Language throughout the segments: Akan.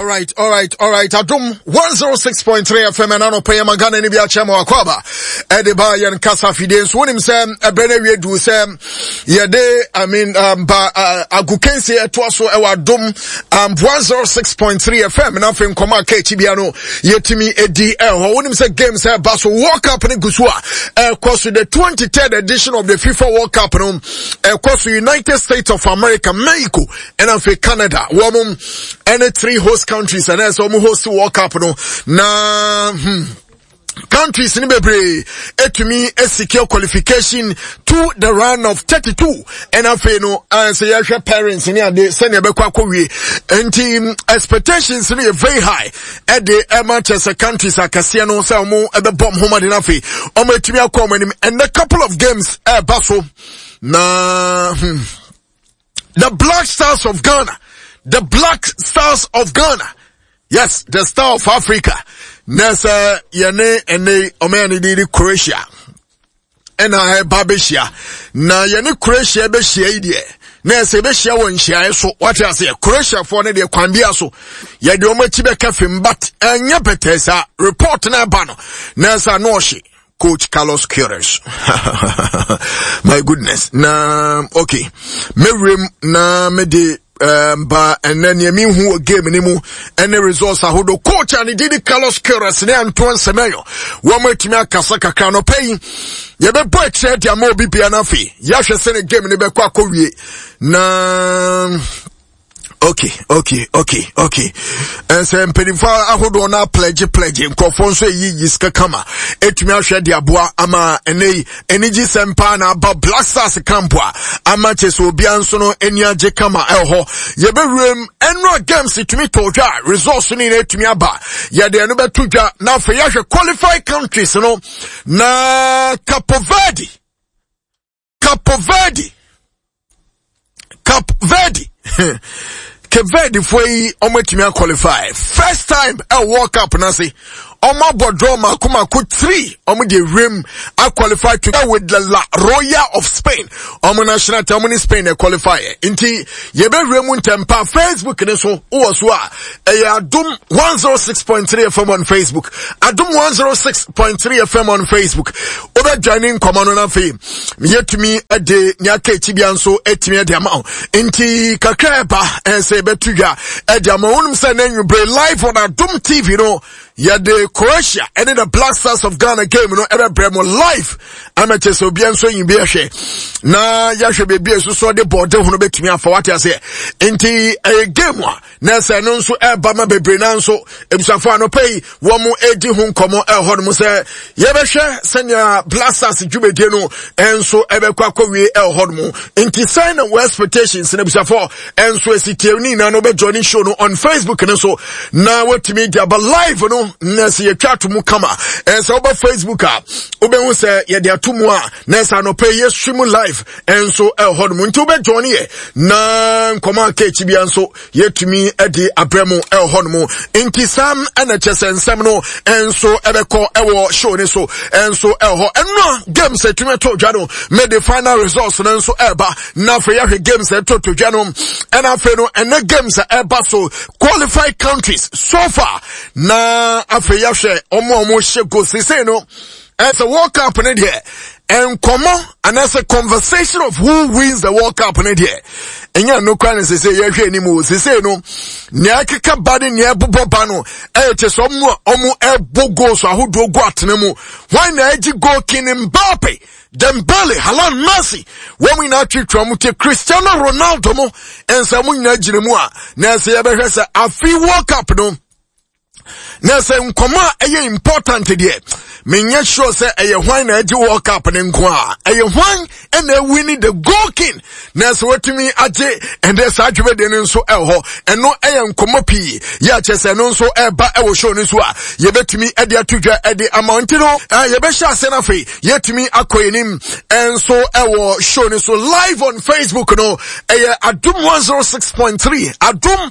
right, all right, all right. Adum 106.3 FM and ano pay magana ni bi akyɛ ma wakwaba. Ɛde ba yɛn kasa fidie nso wonim sɛ ɛbrɛ no awie du sɛ yɛde I mean um, ba uh, agokansie ɛtoa so ɛwɔ Adum um, 106.3 FM na afei nkɔmɔ a ka akyi bia no yɛtumi ɛdi ɛhɔ. Wonim sɛ games ɛba so World Cup no gu so a ɛkɔ so the 23rd edition of the FIFA World Cup no ɛkɔ so United States of America, Mexico ɛna afei Canada wɔn ɛne three host countries ɛna ɛsɛ wɔn host World Cup no na hmm, countries ni bebree etumi secure qualification to the round of 32 ɛna afei no sɛ yɛhwɛ parents ne ade sɛnea ɛbɛkɔ akɔwie nti hmm, expectations no yɛ very high ɛde ɛma kyɛ sɛ countries akɛseɛ no sɛ wɔn ɛbɛbɔ wɔn ho mmɔden afei wɔn atumi akɔ wɔn anim and a couple of games ɛɛba so na hmm, the Black Stars of Ghana the Black Stars of Ghana yes the star of Africa na sɛ yɛne ɛne ɔman ne de Croatia ɛna ɛba bɛhyia na yɛne Croatia bɛhyia yi deɛ na ɛsɛ bɛhyia wɔ nhyiaeɛ so wate aseɛ Croatiafoɔ no deɛ kwan bia so yɛde wɔn akyi bɛka fam but ɛnyɛ pɛtɛɛ saa report na ɛba no na ɛsɛ ano ɔhye coach Carlos Queiroz my goodness na okay mɛwuram na mede um, ba ɛnɛ nea mehu wɔ game no mu ɛne results ahodoɔ coach a ne din de Carlos Queiroz ne Antoine Semenyo wɔn atumi akasa kakra no pɛ yi yɛbɛbɔ akyerɛ de ama obi bia no afei yɛahwɛ sɛ ne game no bɛkɔ akɔwie na okay okay okay okay ɛsɛ mpanimfoɔ ahodoɔ no apledge pledge nkurɔfoɔ nso ɛyi yi sika kama ɛtumi ahwɛ de aboa ama ɛnɛ yi anigye sɛm paa na aba Black Stars camp a ama kyɛ sɛ obiara nso no ani agye kama ɛwɔ hɔ yɛbɛwuram ɛnora games tumi tɔ dwa results no nyinaa tumi aba yɛde ɛno bɛto dwa na afei yɛahwɛ qualified countries no na Capo Verde Capo Verde Cape Verde Cape Verde foɔ yi wɔn atumi aqualify first time ɛwɔ World Cup n'ase wɔn abɔ draw mako mako three wɔn de ewiem aqualify to with the La Royal of Spain wɔn national team wɔn ne Spain na qualify nti yɛbɛwura mu ntɛmpa Facebook ne so wɔ so a ɛyɛ Adum 106.3 FM on Facebook Adum 106.3 FM on Facebook wobɛdwane nkɔmɔ no n'afei yɛtumi de nea aka akyi bia nso atumi de ama wo nti kakra ɛba ɛsɛ yɛbɛto dwa ɛde ama wonom sɛ na anwummere live on Adom TV no yɛde Croatia ɛne the Black Stars of Ghana game no ɛbɛbrɛ mo live ama kyɛ sɛ obia nso nyi bi ɛhwɛ na yɛahwɛ baabi a ɛsoso de bɔɔde ho no bɛtumi afa wate aseɛ nti ɛyɛ game a na sɛ ɛno nso ɛreba ma bebree na nso abusuafo anɔpa yi wɔn redi ho nkɔmɔ ɛhɔ nom sɛ yɛbɛhwɛ sɛnea blasters dwumadie no nso ɛbɛkɔ akɔwie ɛhɔ nom nti sɛn na wɔ expectations na abusuafo nso esi tie ne nyinaa no bɛjoin ne show no on facebook no so na wɔtumi de aba live no na sɛ yɛtwa ato mu kama ɛsɛ woba facebook a wobɛhu sɛ yɛde ato mu a na sɛ anɔpa yi yɛ live nso ɛhɔ nom nti wobɛjoin yɛ na nkɔmɔ aka akyi bia nso yɛtumi de abrɛ mu ɛwɔ hɔ nom nti sam ɛna kyɛ sɛ nsɛm no nso ɛbɛkɔ ɛwɔ show ne so nso ɛwɔ hɔ ɛno games ɛtumi ɛtɔ dwa no mede final results no nso ɛba na afei yɛahwɛ games ɛtɔ to dwa no ɛna afei no ɛnɛ games ɛba so qualified countries so far na afei yɛahwɛ ɔmo a ɔmo hyɛ goals sesei no ɛsɛ World Cup no deɛ nkɔmɔ anaasɛ conversation of who wins the World Cup no deɛ ɛnyɛ no kora ne sese yɛhwɛ anim o sese no nea ɛkeka ba ne nea ɛbobɔ ba no ɛyɛ kyɛ sɛ ɔmo a ɔmo ɛbɔ goals ahodoɔ gu atena mu wɔn na ɛgye goal king Mbappe Dembele Haaland Messi wɔn nyinaa twitwa wɔn ti Cristiano Ronaldo mo nsa wɔn nyinaa gyina mu a na ɛsɛ yɛbɛhwɛ sɛ afi World Cup no na sɛ nkɔmɔ a ɛyɛ important deɛ menyɛ sure sɛ ɛyɛ hwan na ɛgye world cup ne nko a ɛyɛ hwan ɛna ɛwini the goal king na sɛ watumi agye ɛnɛ saa dwumadie no nso ɛwɔ hɔ ɛno ɛyɛ nkɔmɔ pii yɛ akyɛ sɛ ɛno nso ɛba ɛwɔ show no so a yɛbɛtumi ɛde ato dwa ɛde ama nti no yɛbɛhyɛ ase no afei yɛtumi akɔ anim ɛnso ɛwɔ show no so live on facebook no ɛyɛ adum 106.3 adum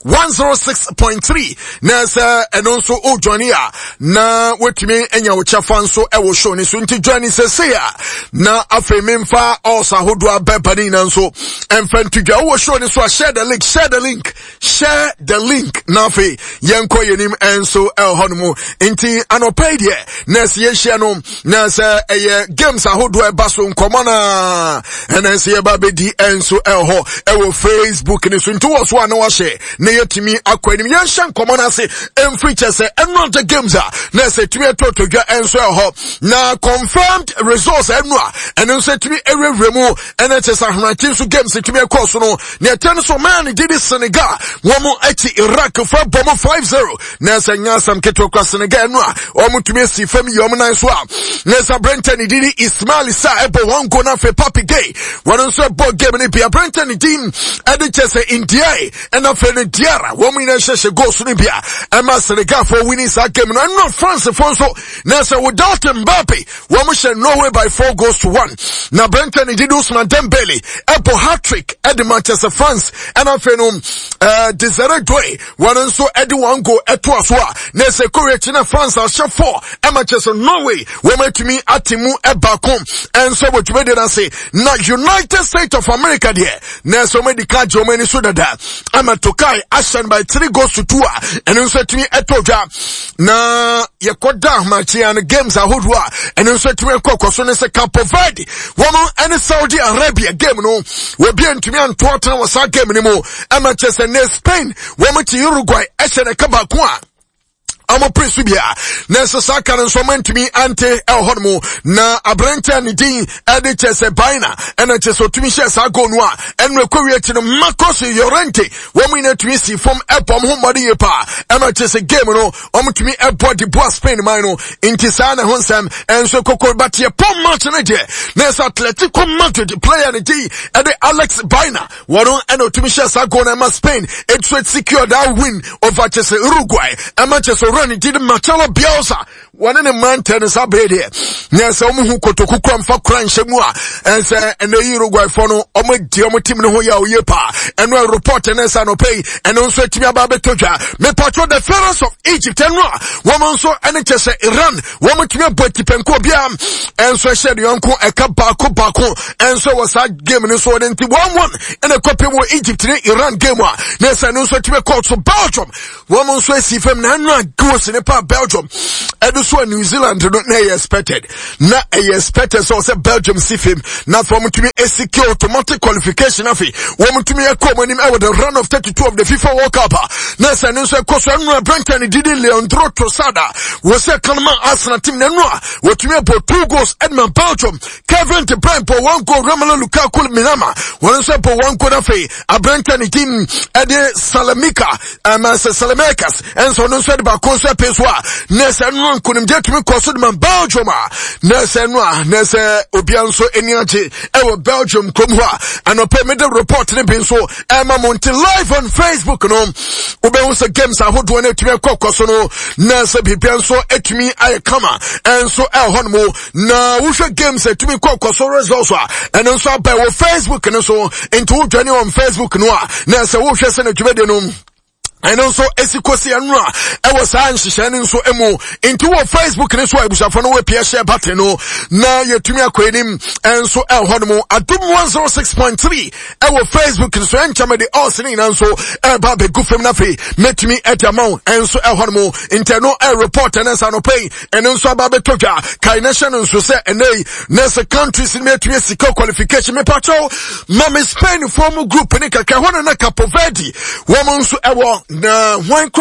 106.3 na sɛ ɛno nso wodwane a na woatumi anya wo wo kyɛfa nso ɛwɔ show ne so. Nti join sɛsei a na afei memfa ɔs ahodoɔ abɛba ne nyinaa nso ɛmfa nto dwa. Wowɔ show ne so a, share the link, share the link, share the link, na afei yɛnkɔ yɛnim ɛnso ɛwɔ hɔ no mu. Nti anɔpa yi deɛ na ɛsɛ yɛhyia no na sɛ ɛyɛ games ahodoɔ ɛba so nkɔmmɔ no a ɛna ɛsɛ yɛba bɛdi ɛnso ɛwɔ hɔ ɛwɔ Facebook ne so. Nti wɔ so a na wahyɛ na yɛtumi akɔ anim. Yɛnhyɛ nkɔmmɔ no ase ɛmfiri kyɛ sɛ ɛno the games a na ɛsɛ tumi ɛtɔtɔ dwa ɛnso ɛwɔ hɔ na confirmed results ɛno a ɛno nso ɛtumi ɛwurawura mu. Ɛna kyɛ sɛ ahorakye nso games ɛtumi ɛkɔɔ so no, nea ɛtɛ no so ɔman ne gye di Senegal wɔn akyi Iraq fa bɔ mo 5-0. Na ɛsɛ nyɛ asɛm ketewa kora Senegal no a wɔn tumi asi fam yi wɔn nan so a na ɛsɛ aberɛntɛ ne didi Ismail Sarr ɛbɔ wɔn goal. Na afei Papi Gay wɔn nso ɛbɔ game no bi. Aberɛntɛ ne din ɛde kyɛ sɛ Ndiaye ɛna afei no Diarra wɔn nyinaa hyehyɛ goals no bi a ɛma Senegal fo winning saa game no. Ɛno France fo nso na ɛsɛ without Mbappe wɔn hyɛ Norway by 4 goals to 1. Na aberɛntɛ ne didi Ousmane Dembele ɛbɔ hat-trick ɛde Manchester France. Ɛna afei no Desire Doue wɔn nso ɛde wɔn goal ɛtoa so a na ɛsɛ kɔwé akyi na France ahyɛ 4 ɛma kyerɛ sɛ Norway wɔn atumi ate mu ɛbaako ɛnso wɔ dwumadie no ase. Na United States of America deɛ na ɛsɛ wɔn adi ka gye wɔn ani so dada ama Tokai ahyɛ no by 3 goals to 2 a ɛno nso atumi ɛtɔ dwa. Na yɛkɔda ahomakyea no games ahodoɔ a ɛno nso atumi ɛkɔ kɔ so ne sɛ Cape Verde wɔn ɛne Saudi Arabia game no, wɔbi ntumi anto atena wɔ saa game no mu ɛma kyerɛ sɛ ne Spain wɔn ti Uruguay ɛhyɛ ne ka baako a ɔmo pere so bia na ɛsɛ saa ka no nso ɔmo ntumi ante ɛwɔ hɔ nom. Na aberanteɛ ne din ɛde kyɛ sɛ Baina ɛna kyɛ sɛ ɔtumi hyɛ saa goal no a ɛno ɛkɔ wie akyi no, Marcos Llorente wɔn nyinaa tumi si fam ɛbɔ ɔmo ho mmɔden yie paa ɛma kyɛ sɛ game no ɔmo tumi ɛbɔ de boa Spain man no. Nti saa na ɛho nsɛm ɛnso koko. But yɛ pɔn match no deɛ na ɛsɛ Atletico Madrid player ne din ɛde Alex Baena wɔn ɛna otumi hyɛ saa goal na ɛma Spain etu secure that win over kyɛ sɛ Uruguay. Ɛma kyɛ sɛ owura ne din Marcelo Bielsa wɔne ne mmeranteɛ no saa bere deɛ na sɛ wɔn ho kotoku kura mfa kura nhyɛ mu a ɛnsɛ ɛnɛ yi Uruguay fo no wɔn adi wɔn team no ho yɛ ɔyɛ paa. Ɛno report ɛne nsa no pɛyi ɛno nso atumi aba abɛtɔ dwa. Mepatro the Pharaohs of Egypt ɛno a wɔn nso ɛne kyɛ sɛ Iran wɔn tumi abɔ atipɛnko obiara ɛnso ɛhyɛ ne yɔnko ɛka baako baako ɛnso wɔ saa game no so. Wɔde nti 1-1 ɛna ɛkɔpem wɔ Egypt ne Iran game a na ɛsɛ no nso atumi kɔɔ so. Belgium wɔn nso asi fam na ɛno a goals ne pa Belgium ɛde so a New Zealand no na ɛyɛ expected, na ɛyɛ expected sɛ ɔsɛ Belgium si fam na afei wɔn tumi secure automatic qualification. Afei wɔn tumi ɛkɔ wɔn anim ɛwɔ the round of 32 of the FIFA World Cup a na ɛsɛ no nso ɛkɔ so. Ɛno aberanteɛ ne didi Leandro Trossard a wɔsɛ kanama Arsenal team na ɛno a wɔtumi abɔ two goals ɛde ma Belgium. Kevin De Bruyne bɔ one goal, Romelu Lukaku Minama wɔn nso bɔ one goal. Afei aberanteɛ ne din ɛde Salamika ɛma sɛ Salamekas ɛnso ɔno nso ɛde baako nso ɛpɛ so a na ɛsɛ no nkonimdie tumi kɔ so de ma Belgium a na ɛsɛ no a na ɛsɛ obia nso ani agye ɛwɔ Belgium kurom hɔ a anɔpɛ mede report ne bi nso ɛma mo. Nti live on Facebook no wobɛhu sɛ games ahodoɔ no atumi ɛkɔ kɔ so no na sɛ biribia nso atumi ayɛ kama ɛnso ɛwɔ hɔ no mu. Na wohwɛ games atumi kɔ kɔ so results a ɛno nso aba wɔ Facebook no so. Nti wodwane on Facebook no a na sɛ wohwɛ sɛ no dwumadi no ɛno nso esi kosi ɛno a ɛwɔ saa nhyehyɛ no nso mu. Nti wɔ Facebook ne so a abusuafo no wɔapia share button no na yɛtumi akɔ anim ɛnso ɛwɔ hɔ no mu. Adom 106.3 ɛwɔ Facebook nso ɛnkyɛn de ɔs ne nyinaa nso ɛreba abɛgu fam no afei mɛtumi ɛde ama wo ɛnso ɛwɔ hɔ no mu. Nti ɛno ɛreport ɛne nsa no pɛyi ɛno nso aba abɛtɔ dwa. Kae na hyɛ no nso sɛ ɛnɛ yi na sɛ countries no atumi asika qualification. Mepakyɛw ma me Spain foɔ mu group ne kakra hɔ no na Capo Verde wɔn nso ɛwɔ na hwan kora.